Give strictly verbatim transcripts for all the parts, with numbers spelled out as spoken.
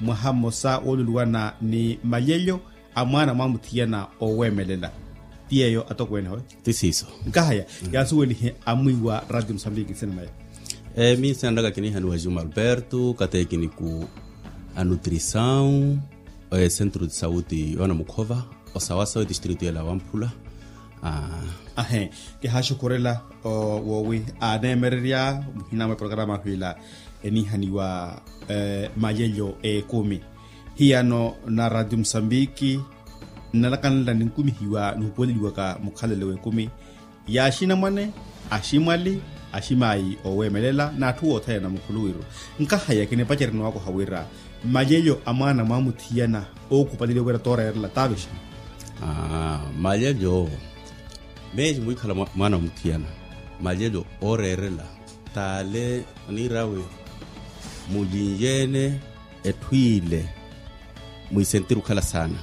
Mwaha mmosa wooluluwana ni malyelyo a mwaana mwamuthiyana ooweemelela. Ti yeeyo atokweene hoyo. Ti siiso. Nkahaya yaasuwelihe amwiiwa ratio musambiki nsina naya. Minsina ntaka kinihaniwa juma alberto katekiniku a nutrisaw, esentru de sauti yoona mukhova osawasawa etistritu yela wamphula. Ahe. Kihaaxukhurela woowi aaneemererya muhina mwa eprograma ahu ila enihaniwa malyelyo ekumi. Hiyano na ratio musambiki nnalakanela ninkumihiwa nihupuweleliwaka mukhalelo w'ekumi ya axinamwane, aximwali, aximaayi ooweemelela n'atthu othene na mukhuluwiru. Nkahaya kinipacerya niwakoha wira malyelyo a mwaana mwamuthiyana ookhupaleliwa wira tooreerela taavixa. Malyelyo meeji mwiikhala mwaana mwamuthiyana malyelyo ooreerela taale oniirawe mulinyeene etthu ile mwiisentiri okhala saana.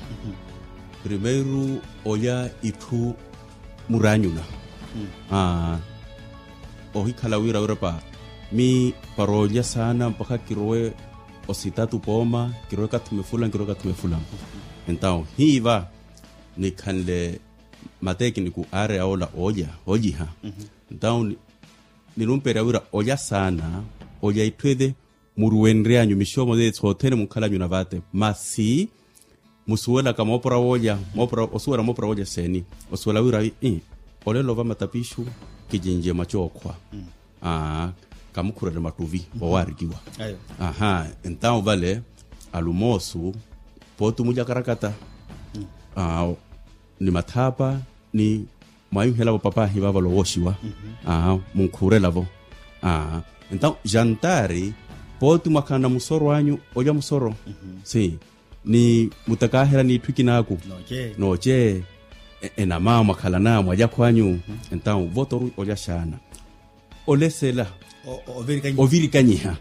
Primeiru olya itthu muraanyuna. Ohikhala wira wirapa mi para olya saana mpakha kirowe ositatu pooma kirowe kathuma efula kirowe kathuma efula. Entawo hiiva nikhanle matekiniku aareya ola olya olyiha. Entawo ninumpeerya wira olya saana olya itthu ele muruwenryanyu mixomo sothene munkhalanyu na vate masi musuwelaka moopora woolya. Osuwela moopora woolya seeni osuwela wira ii olelo va matapixu kicince mwa cookhwa. Kamukhurele mattuvi owaarikiwa. Aha. Entawo vale alumoosu pooti mulya karakata ni mathaapa ni mwaayuhelavo papaahi vaavalo wooxiwa. Munkhuurelavo entawo jantaari pooti mwakhanana musoro anyu olya musoro si ni mutakaaherya n'itthu ikinaaku. Nooce enamaawo mwakhalana mwalyakho anyu entawo votoru olya xaana olesela ovirikanyiha.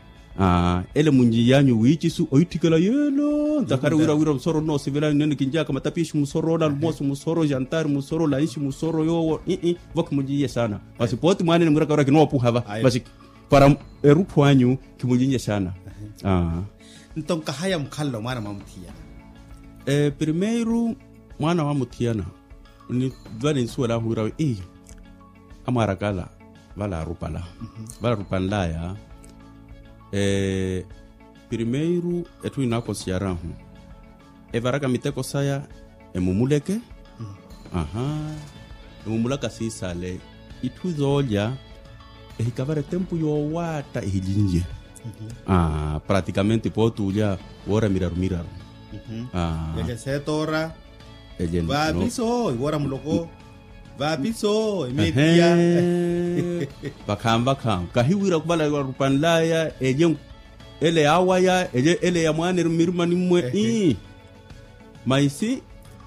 Ele munci yanyu wiicisu oitthikela yeelo ntakhari wira wira musoro nnoosivela nene kinjaka matapixi musoro ola alumoosu musoro jantari musoro lanxi musoro yoowo ii vo khimuncinye xaana. Masi pooti mwaanene mwiraka wira kinoopuha va masi para erutthu anyu khimuncinye xaana. Nto nkahaya mukhalelo mwaana mwamuthiyana. Primeiru mwaana mwamuthiyana va ninsuwel'ahu wira ii amwaaraka ala vale arupala vale arupanlaya. Primeiru etthu inaakonsiyar'ahu evaraka miteko saya emumuleke aha emumulaka siisale itthu zoolya ehikavara etempu yoowaatta ehilinye. Praticamente pooti ulya woora miraru miraru. Yalya seetoora vaapiso iwoora muloko vaapiso emeetiya. Vakhaani vakhaani kahiwira khuvala arupanlaya elye ele yaawaya elye ele ya mwaana erumirumanimwe ii maisi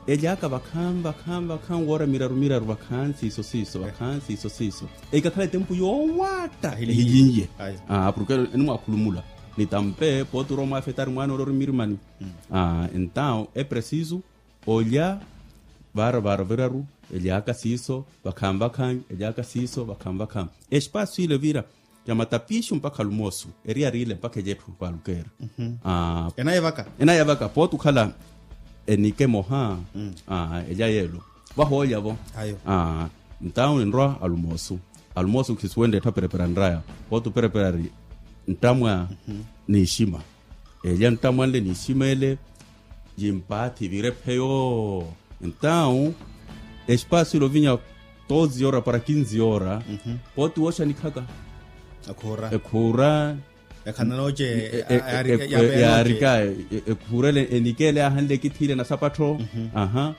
ely'aka vakhaani vakhaani vakhaani woora miraru miraru vakhaani siiso siiso vakhaani siiso siiso. Ekakhala etempu yoowaatta ehilinye. Porke enimwakhulumula nitampe pooti orowa omwaafetari mwaana ole orimirimani. Entawo epresisu olya vaara vaara viraru ely'aka siiso vakhaani vakhaani ely'aka siiso vakhaani vakhaani. Espasu ile vira ya matapixu mpakha alumoosu eriyari ile mpakha elya etthu vaalukeera. Enayavaka pooti okhala enike emoha elya yeelo vahoolya-vo. Ntawo ninrwa alumoosu alumoosu khisuwenta etthu aperepera nraya pooti operepera ari nttamwa n'ixima. Elya nttamwa nle n'ixima ele yimpaathi vira epheyo. Entawo espasu ila ovinya doze horas para quinze horas pooti wooxanikhaka ekhuura ekhananooce yaarika ekhuura ele enikele yaahanle ekithiile na sapattho. Aha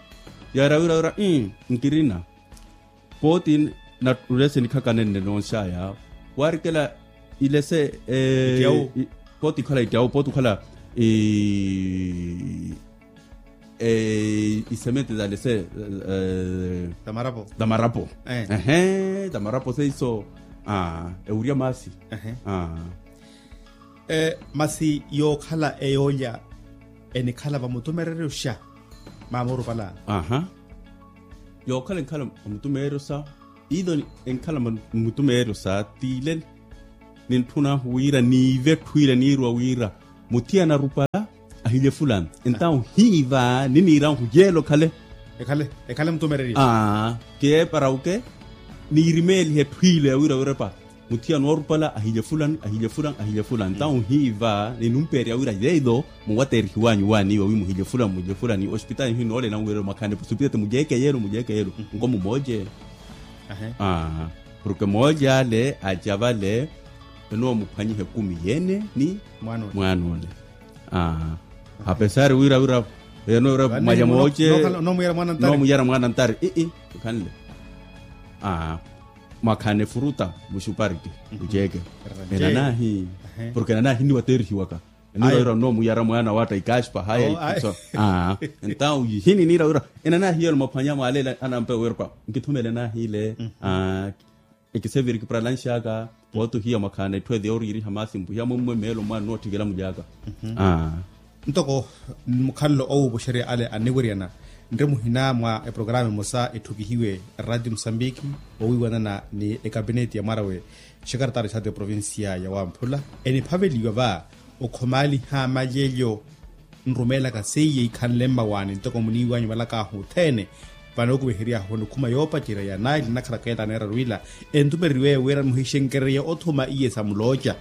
yaara wira wira nkirina pooti natulese nikhaka nenne noonxaya waarikela ilese pooti ikhala ittyawu pooti ikhala isemente zalese tamarapo tamarapo ehe tamarapo seiso ewurya maasi. Masi yookhala eyoolya enikhala vamutumereryo xa maamorupala. Aha yookhala enkhala vamutumereryo xa iilo enkhala vamutumereryo xa tiile nintthun'ahu wira niive etthu ile niirwa wira Muthiyana arupala ahilye fulani. Entawu hiiva niniira nhuyeela okhale. Ekhale ekhale mutumereriyo. Aa, kiyeepara uke niirimeelihe etthu ile yawira wirepa. Muthiyana oorupala ahilye fulani ahilye fulani ahilye fulani entawu hiiva ninumpeerya wira yeeyo. Muwateerihiwanyu waaniiwa wi muhilye fulani muhilye fulani osipitaali hinoole nanwirela mwakhani posipitali mulyeeke yeelo mulyeeke yeelo. Nkomu mooje. Aa, porke mooje ale aca vale enoomuphwanyiha ekumi yeene ni mwaana ole. Aa, apesari wira wira eno wira mwaya mooce. Noomuyara mwaana ntari ii. Okhanle. Aa, mwakhana efuruta muxupariki muceeke. Enanaahi porke enanaahi niwateerihiwaka. Enira wira noomuyara mwaana watta ikashipa haya ikutso. Aa, entawu yihini nira wira enanaahi yelo mwaphwanya mwaaleela anampe wira pa nkithumele naahi ile. Aa, ekiseviri kipralanxaka. Pootuhiya mwakhana etthu eti yooriiriha maasi mpuhiya mwimmwe meelo mwaana nootthikela mulyaka. Aa, ntoko mukhalelo owuupuxerya ale anniwiryana nri muhina mwa eprograma emosa etthukihiwe eraati musambiki owiiwanana ni ekapineti ya mwarawe exekaretari saati eprovincia ya wamphula eniphaveliwa va okhomaaliha malyelyo. Nrumeelaka seiye ikhanle mmawaani ntoko muniiwanyu valakaahu othene. Vanookumiheryahu onikhuma yoopacerya ya naili nakhalaka ela aneeraru ila entumereriwe wira muhixenkererye othuma iye sa mulooca.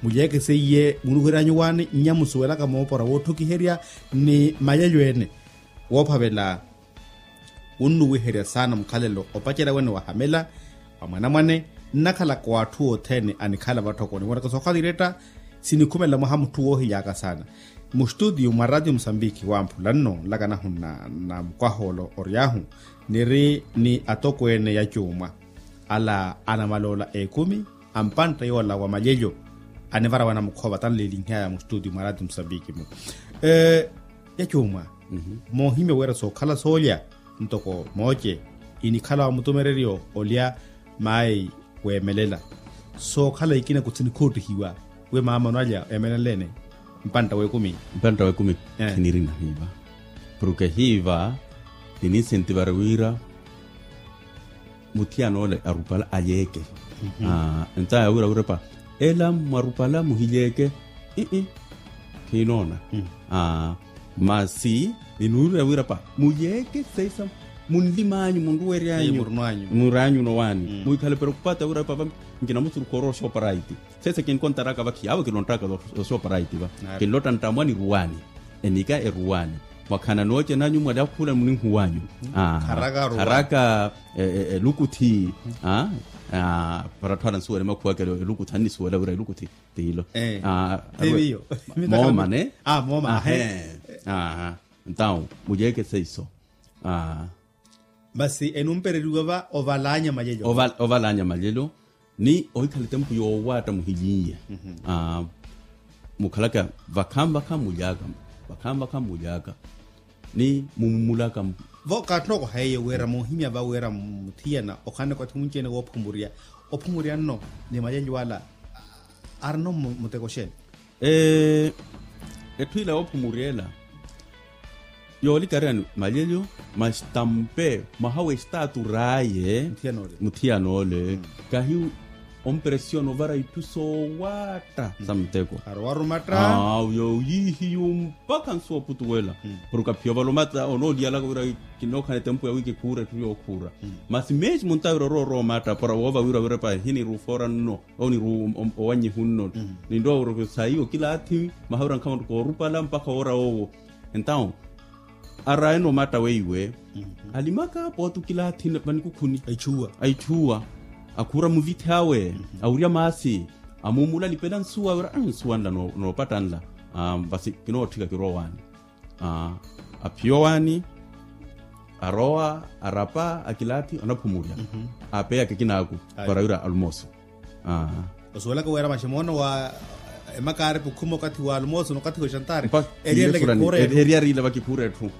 Mulyeeke seiye munuhwery'anyu waani nnya musuwelaka moopora wootthokiherya ni mayelyo ene. Woophavela wunnuwiherya saana mukhalelo opacerya wene wahamela wa mwanamwane. Nnakhalaka w'atthu othene anikhala vatthokoni wonaka sookhala iretta. Sinikhumelela mwaha mutthu woohilyaka saana. Mustutiyo mwa ratio musambiki wamphula nno nlaka nahu na mukwaha ola ory'ahu niri ni atokweene ya cuumwa ala anamaloola ekumi ampantta yoola wa malyelyo. Anivara wana mukhova tanleelinyaya mustutiyo mwa ratio musambiki-mu. Ya cuumwa moohimya wira sookhala soolya ntoko mooce inikhala wa mutumereryo olya maayi weemelela sookhala ikina kuthi nikhoottihiwa wi maamano alya eemelenle-ene. Mpantta w'ekumi mpantta w'ekumi. Khinirina hiiva porke hiiva nininsentivare wira muthiyana ole arupala alyeeke. Aa entaaya wira wirepa ela mwarupala muhilyeeke. Ii khiinoona. Aa masi ninuurira wirapa mulyeeke saisa munlim'anyu munruweryanyu. Mur'anyu nowaani muhikhale preokupata wirapa va nkinamusurukha orowa oxooparaiti. Sese kinkontaraka vakhi awo kilonttaka oxooparaiti va kinlotta nttamwani ruwaani. Enika eruwaani mwakhana noocenanyu mwali akhuula muninhuwanyu. Kharaka elukuthi. Para atthu anansuwela emakhuwakelo elukuthi annisuwela wira elukuthi tiilo. Mooma ne. Mooma. Ntawu mulyeeke seiso. Masi enumpereriwa va ovalanya malyelyo. Ovalanya malyelyo ni ohikhala etempu yoowatta muhilinye. Mukhalaka vakhanvakha mulyaka vakhanvakha mulyaka ni mumumulaka. Vo kaatthoko haiye wira muhimya va wira muthiyana okhanle kwathi munci-ene woophumurya ophumurya nno ni malyelyo ala arino muteko xeeni? Etthu ila yoophumuryela yoolikariyani malyelyo masitampe mwaha w'esitaatu r'aye. Muthiyana ole kahi ompresiona ovara itthu soowatta sa muteko. Arowarumatta. Awo yoyiihiyu mpakha nsu oputuwela porke aphiya ovalomata onooliyalaka wira kinookhana etempu ya wi kikhuura etthu yookhuura. Masi mesmo ntawira orowa orowa omatta para woova wira wirepa ehiniruufoora nno oniru owannyihu nno. Ninrowa wira saiwo kilaathi mwaha wira nkhamattu koorupala mpakha woora woowo. Entawu araayeno omatta weiwe alimaka pooti okilaathi vanikhukhuni. Aithuwa akhuura muvithi awe awirya maasi amuumula alipela nsuwa wira nsuwa nla noopatta nla. Vasi kinootthika kirowa owaani. Aphiya owaani arowa arapa akilaathi anaphumurya. Apeya kekinaaku para wira alumooso. Osuwelaka wira maximoono wa emakaari pukhuma okathi wa alumooso n'okathi wa exantari. Eriyarila vakikhuura etthu.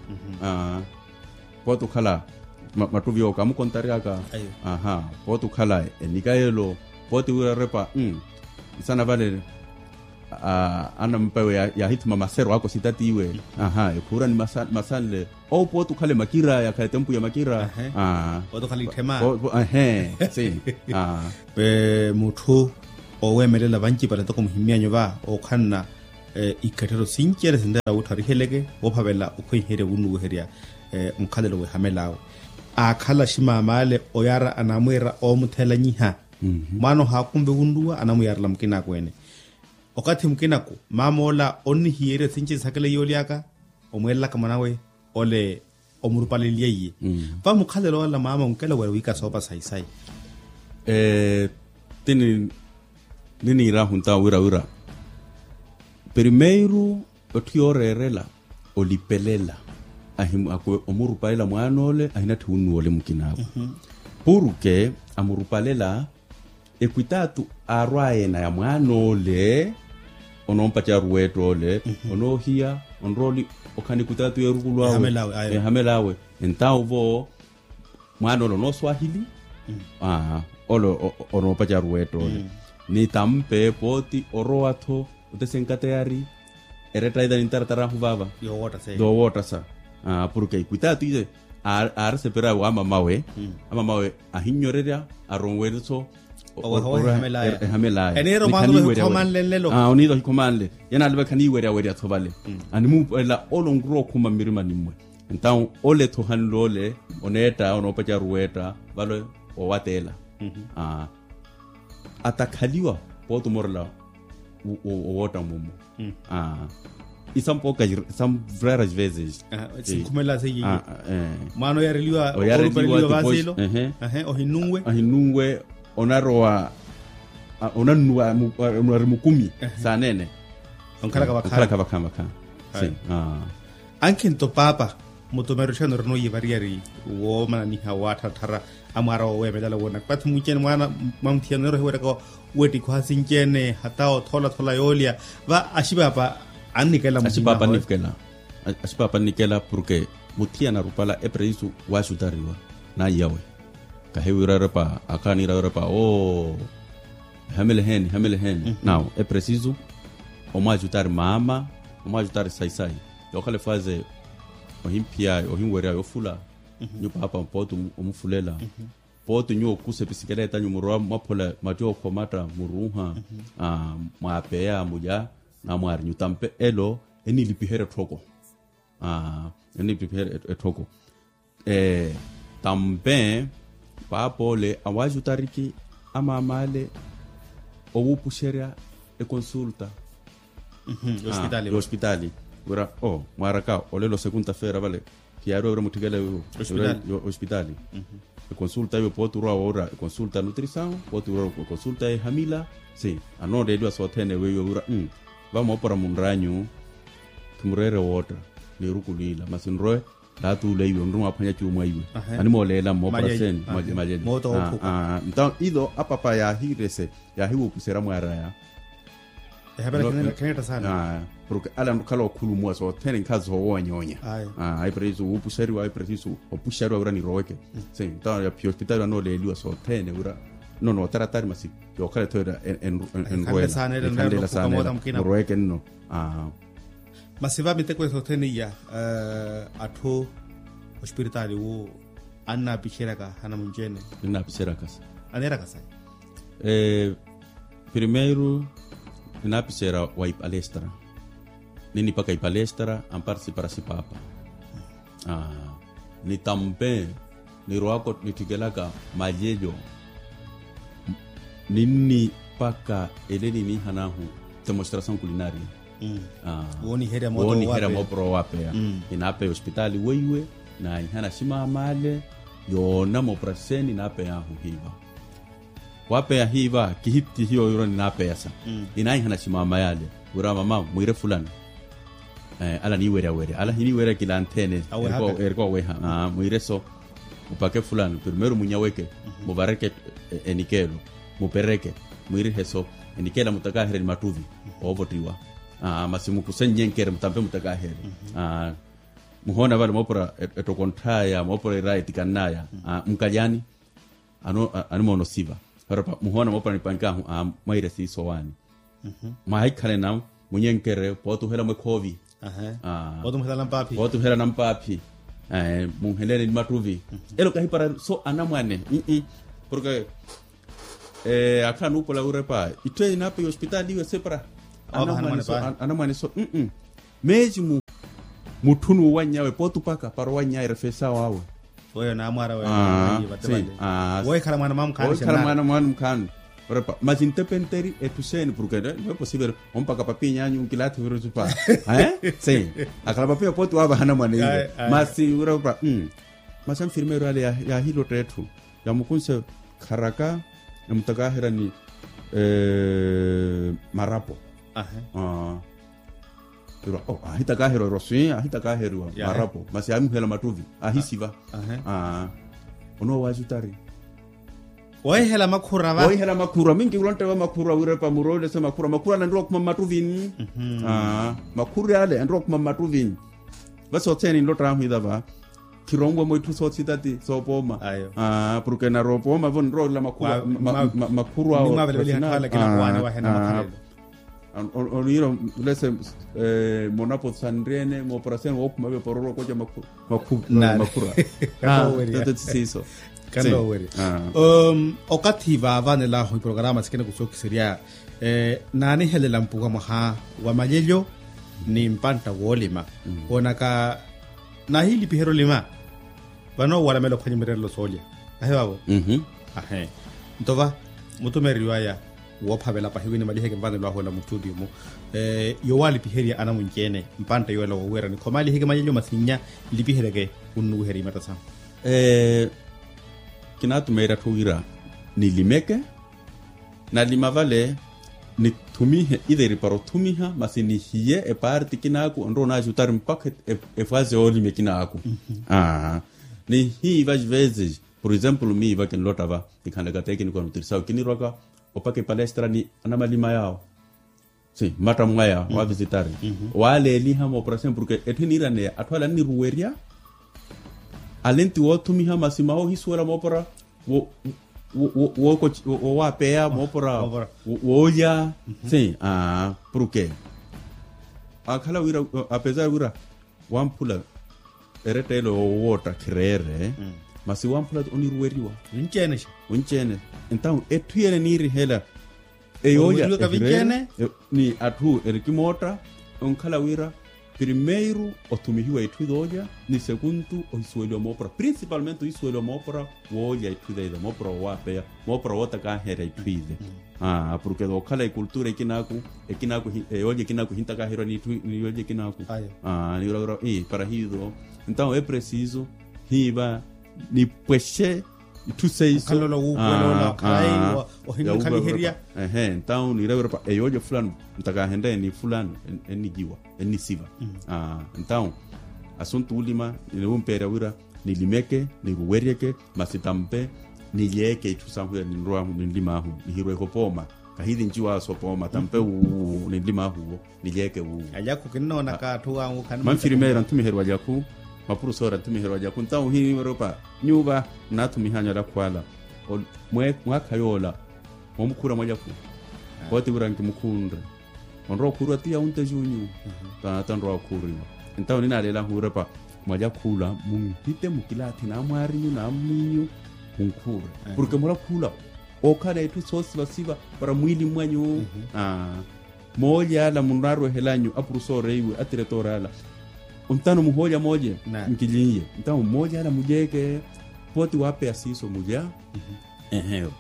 Pooti okhala mattuvi yooka amukontaryaka. Pooti okhala enikayelo pooti wira repa nsana vale. Anampa ewe yaahithuma masero ako sitatiiwe. Ekhuura ni masanle owo pooti okhale makira yakhale etempu ya makira. Pooti okhale itthema. Ehe. Mutthu oweemelela vancipale ntoko muhimyanyu va okhanna Ikatthero sinci ele sintela wuuttha oriheleke woophavela okhwenherya wunuuherya mukhalelo w'ehamela awe. Aakhala aximam'ale oyaara anamwiira oomuthelanyiha. Mwaana ohaakunve wunnuwa anamwiyaarela mukinaakweene. Okathi mukinako maam'ola onnihiyerya sinci sisakela iyooli aka omweelelaka mwanawe ole omurupaleliye iye. Va mukhalelo ola maama onkela wira wiika soopa sayi-sayi. Ti niniirahu ntawo wira wira primeiru otthu yooreerela olipelela ahimu akuwe omurupalela mwaan'ole ahinatthi wunnuwa ole mukinaakwe. Purke amurupalela ekwitaatu aarwaya ena ya mwaan'ole onoompaca ruweetta ole onoohiya onrooli okhala ekwitaatu y'erukulu awe ehamela awe. Entawo vo mwaana ole onooswahili ole onoopaca ruweetta ole ni tampe pooti orowa-tho otese nkateyari eretta ita nintaratarahu vaava yoowoottasa purke ekwitaatu iye aareseperya waamamawe amamawe ahinnyorerya aronwere-tho oweha oweha ehamelaya eniira omwaana oweha okhomanle nlelo oniira ohikhomanle yanaalivekha niiweryawerya-tho vale animuupelela ole onrowa okhuma mmirimani mmwe. Entawo ole-tho ohanle ole oneetta onoopaca ruweetta vale owateela atakhaliwa pooti omorela owootta mumu isampooka isampooka às vezes sinkhumelela seiye mwaana oyareliwa oorupaleliwa vaasilo ohinnunwe ohinnunwe onarowa onannuwa onari mukumi saaneene onkhalaka vakhaani vakhaani. Ankhinto paapa mutumero tthiyana orina oyivariyari woomananiha waattharatthara amwaara wooweemelala woona kwathi munci-ene mwaana mwa muthiyana oneera ohiweraka wettikhuha sinci-ene hata othoola-thoola yoolya va axipaapa annikela muhina axipaapa annikela axipaapa annikela purke muthiyana arupala epresisu waaxutariwa naiyawe kahiwira yorepa akhaaniira yorepa oo ehamela eheeni ehamela eheeni nawo epresisu omwaxutari maama omwaxutari sayi-sayi yookhala efaze ohimphiya ohinwerya yoofula nyu paapa pooti omufulela pooti nyuwo okusa episikeleeta nyu murowa mwaphola matti ookhomatta muruuha mwaapeya mulya namwaari nyu tampe elo enilipiherya etthoko enilipiherya etthoko tampe paapa ole awaaxutariki amaam'ale owuupuxerya ekonsulta yospitaali wira o mwaaraka olelo sekunta feera vale khiyaariwa wira mutthikela ospitaali ekonsulta iwe pooti orwa woora ekonsulta nutrisawu pooti orwa ekonsulta ehamila si anooleliwa sothene weiwe wira va moopora munranyu khimureere wootta niirukulu ila masi nrowe laatuula iwe onri mwaaphwanya cuumwa iwe animooleela mmoopora seeni malyelye nto ilo apapa yaahiirese yaahiwuupuserya mwaaraya ehaperya kheneetta saana porke ala nrukhala okhulumuwa sothene nkhazi soowonyoonya epresisu wuupuxeriwa epresisu opuxeriwa wira niroweke se ntawo yaphiya ospitaali anooleeliwa sothene wira nno nootaratari masi yookhala etho enrwela ekhanlela saana muroweke nno masi va miteko sothene iya atthu ospiritaali wu annaapixeryaka anamunci-ene annaapixeryaka sa aneeraka sayi primeiru ninaapiseera wa ipalestra ninipaka ipalestra ampartisi para sipaapa ni tampe nirowaka nitthikelaka malyelyo ninnipaka ele niniihanahu demonstrasaw nkulinaria wooniherya moopora owapeya ninaapeya ospitaali weiwe naahihana aximam'ale yoona moopora seeni naapeyahu hiiva waapeya hiiva kihittihiwa wira ninaapeyasa inaahihana aximama yaale wira mama mwiire fulani ala niiweryawerya ala hiniiwerya kilanthene erika oweha mwiire so mupake fulani primeiro munyaweke muvareke enikeelo mupereke mwiirihe so enikeela mutakaherye ni mattuvi oovottiwa masi mukusennyenkere mutampe mutakaherye muhoona vale moopora ettoko ntthaya moopora iraya etikannaya mukalyani animoona osiva muhoona moopora nipankahu mwaire siiso waani mwahikhalana munyenkere pootuhela mwekhoovi pootuhela nampaaphi munheleni ni mattuvi elo kahipara so anamwane porke akhala nuupola wirepa itthu eyi naapeya ospitaali iwe separa Anamwane so. Meesi mu mutthu n'uwanny'awe pooti opaka para owanny'awe erefesa wawe. Weyo naamwaara weyo. Wohikhala mwaana mwaamukhaani orepa masi ntepenteri etthu seeni porke no eposivele ompaka papiny'anyu nkilaathi virisu pa. Akhala papinya pooti waavaha anamwane iwe. Masi orepa masi anfirmeeru ale yaahilotta etthu yamukunse kharaka emutakaherya ni marapo. Ahitakaherya oroswi ahitakaherya marapo masi aamuhela mattuvi ahisiva. Onoowaajutari woohihela makhura va woohihela makhura minki kulontteva makhura wirepa muroolese makhura makhura ale anrowa okhuma mmattuvini. Makhura ale anrowa okhuma mmattuvini. Vasi othene nlottanhu ithava khironwemo itthu soothitati soopooma. Porke narowa opooma vo nroorela makhuru awo. Oniira lese monapo sanriyene mooparasiyani wookhuma vyo pororo okoca makhura. Kanoowerya. Okathi vaavanelahu iporokaraama sikina kusookiserya naanihelela mpuwa mwaha wa malyelyo ni mpantta woolima woonaka naahiilipiherya olima. Vano walamela ophwanya mirerelo soolya ahe vavo. Ahe nto va mutumeeriwaya woophavela pahi wi nimaliheke mvanelo ahu ola muttutiyo-mu yoowaalipiherya anamunci-ene mpantta yoola woowiira nikhomaliheke malyelyo masi nnya nlipiheryeke wunnuwiherya imatta sahu. Kinaatumeerya atthu wira nilimeke nalima vale nithumihe itheri para othumiha masi nihiye epaarti ekinaaku onrowa onaajutari mpakha efwazi yoolima ekinaaku. Nihiiva vezes por exemplo miiva kinlotta va nikhanlaka tekiniko anutirisawo kinirwaka opaka epalestra ni anamalima yaawo. Mmatta mwaya waavisitari waaleeliha mooparasiyani porke etthu eniiraneya atthu ale anniruwerya ale nti woothumiha masi maha ohisuwela moopara wowaapeya moopara woolya. Porke akhala wira apesar wira wamphula eretteelo yoowootta khireere masi wamphula oniruweriwa. Onci-ene entawu etthu yene eniirihela eyoolya ni atthu erikimootta onkhala wira primeiru othumihiwa itthu yoolya ni sekuntu ohisuweliwa moopora principalmente ohisuweliwa moopora woolya itthu yoolya moopora wowaapeya moopora wootakaherya itthu ile. Porke yookhala ekultura ekinaaku ekinaaku eyoolya ekinaaku ehintakaherya ni itthu ni yoolya ekinaaku. Niwira wira para hiizo entawu epresiso hiiva nipwexe itthu seiso. Okhalola wuupuwela ola okharayi ohinnukhaliherya. Ehe entawu niira wira pa eyoolya fulano ntakahenreye ni fulano enniciwa ennisiva. Entawu asuntu wulima niwumpeerya wira nilimeke niruweryeke masi tampe nilyeeke itthu sahu ya ninrwahu ninlimaahu nihirweeke opooma. Kahilinci waaso opooma tampe wuuwu ninlimaahu wo nilyeeke wuuwu. Alyaku kinnoonaka atthu awu khani manfirimeera nthumiherya alyaku mapurusoora nthumiherya alyaku ntawu hiiropa nyuva nnaathumihanyu alyaku ala mwaakha yoola moomukhuura mwalyaku. Pooti wira nkimukhunre onrowa okhuuriwa ti yaunte junyu. Tanrowa okhuuriwa entawu ninaaleelahu wirepa mwalyakhula munhite mukilaathi naamwaarinyu naammiinyu munkhuure porke mulakhula ookhala etthu soosivasiva para mwiili mmwanyu. Moolya ala munnaarwehelanyu apurusoora iwe atiretoora ala ontano muhoolya moolya nkilinye entawo moolya ala mulyeeke pooti waapeya siiso mulya. Eheyo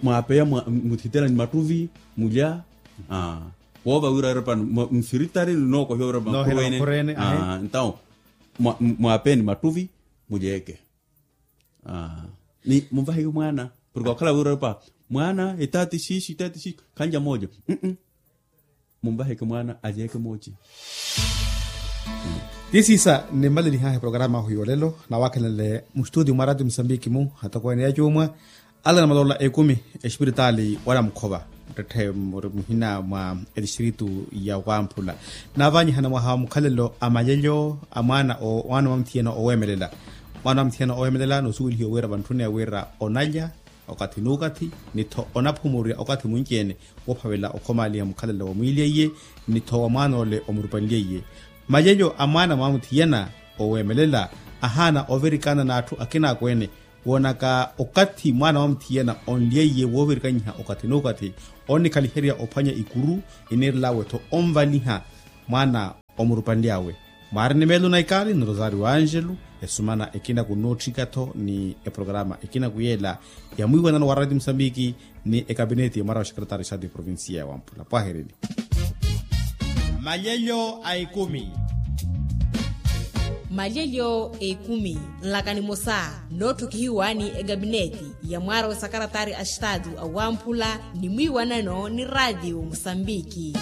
mwaapeya muthitela ni mattuvi mulya. Woova wira erepani mfiritari ni nookohiwa wira makhuru ene. Entawo mwaapeya ni mattuvi mulyeeke ni munvaheke mwaana porke wakhala wira erepa mwaana etaati xiixi etaati xiixi khanlya moolya. Munvaheke mwaana alyeeke mooce. Ti siisa nimmalelihahe programa ahu yoolelo nawakhenlele mustutio mwa ratio musambiki mu hatokweene ya cuumwa ala namalola ekumi espiritaali wala mukhova muttetthe muri muhina mwa etistritu ya wamphula. Naavanyihana mwaha wa mukhalelo a mayelyo a mwaana wa muthiyana oweemelela mwaana wa muthiyana oweemelela noosuwelihiwa wira vantthuni ya wira onalya okathi n'ukathi ni-tho onaphumurya okathi munci-ene woophavela okhomaaliha mukhalelo wa mwiili aiye ni-tho wa mwaana ole omurupanlyeiye. Mayelyo a mwaana mwa muthiyana oweemelela ahaana ovirikana n'atthu akinaakweene woonaka okathi mwaana wa muthiyana onlyeiye woovirikaniha okathi n'ukathi onnikhaliherya ophwanya ikuru, iniirel'awe-tho onvaliha mwaana omurupanly'awe. Mwaari ni meelo na ikaali ni rosario angelo, esumana ekinaku nootthika-tho ni eprograma ekinaku yeela ya mwiiwanano wa raati musambiki ni ekapineti ya mwaara wa xekretari xadi provincia ya wampula pwahereni. Malyelyo a ekumi. Malyelyo a ekumi nlaka nimosa nootthukihiwa ni ekapineti ya mwaara wa sakaratari a xitaatu a wamphula ni mwiiwanano ni raatiyo musambiki.